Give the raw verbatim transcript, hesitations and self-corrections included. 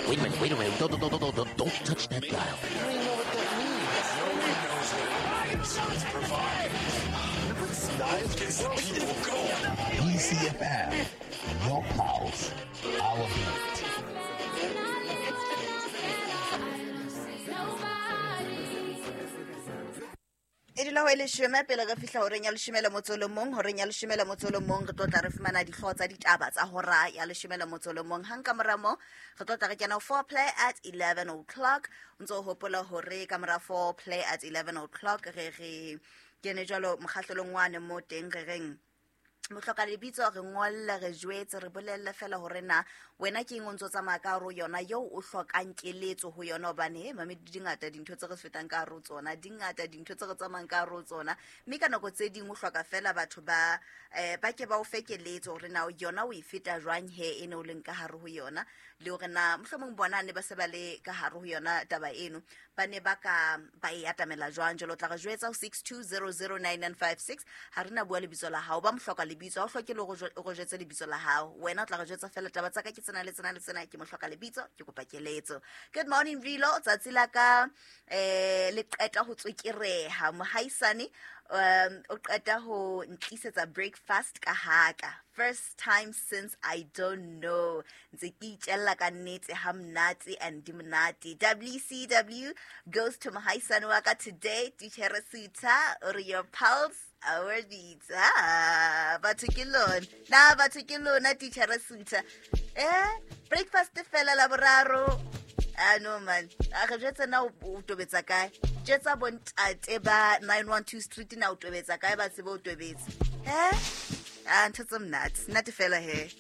Wait a minute, wait a minute. Don't, don't, don't, don't, don't, don't touch that dial. I don't even know what that means. No one knows what it means. It's provocative. It gets the people going. B C F M, your pulse, our beat. E dula ho e leshome pele re fihla horeng ya leshome le motso o le mong, horeng ya leshome le motso o le mong re tlo tla re fumana dihlooho tsa ditaba tsa hora ya leshome le motso o le mong. Hang ka mora moo, re tlo tla re kena ho foreplay at eleven o'clock. O ntso o hopola hore ka mora foreplay at eleven o'clock re re kene jwalo mokgahlelong wane mo teng re reng mohloka lebitso re ngolle, re jwetse, re bolelle fela hore na wena ke eng o ntso tsamaya ka hare ho yona eo o hlokang keletso ho yona, hobane he mame di ngata dintho tse re fetang ka hare ho tsona, di ngata dintho tse re tsamayang ka hare ho tsona, mme ka nako tse ding o hloka fela batho ba, eh, ba ke ba o fe keletso hore na yona o e feta jwang he e ne o leng ka hare ho yona, le hore na mohlomong bona ne ba se ba le ka hare ho yona taba eno ba ne ba ka ba e atamela jwang. Jwale o tla re jwetsa ho six two zero zero nine nine five six. Ha re na bua lebitso la hao, ba mohloka lebitso, ha o hloke le hore o jwe-, o re jwetse lebitso la hao, wena o tla re jwetsa fela taba tsa ka ke tsena le tsena le tsena, ke mohloka lebitso, ke kopa keletso. Good morning Rilo, tsatsi la ka, eh, le qeta ho tswekereha mohaisane, um, o qeta ho ntlisetsa breakfast ka haka, first time since I don't know, ntse ke itjella ka nnete ha monate and di monate. W C W goes to mohaisane wa ka today, Titjhere Sutha, o re your pulse our beats. Ah, batho ke lona, na batho ke lona Titjhere Sutha, eh, breakfast fela la boraro. Ah, no man, a re jwetse na o, o tobetsa kae? Jwetsa bontate ba nine one two Street na o tobetsa kae, ba tsebe o tobetsa. Eh? Ah, ntho tse monate, nate fela he.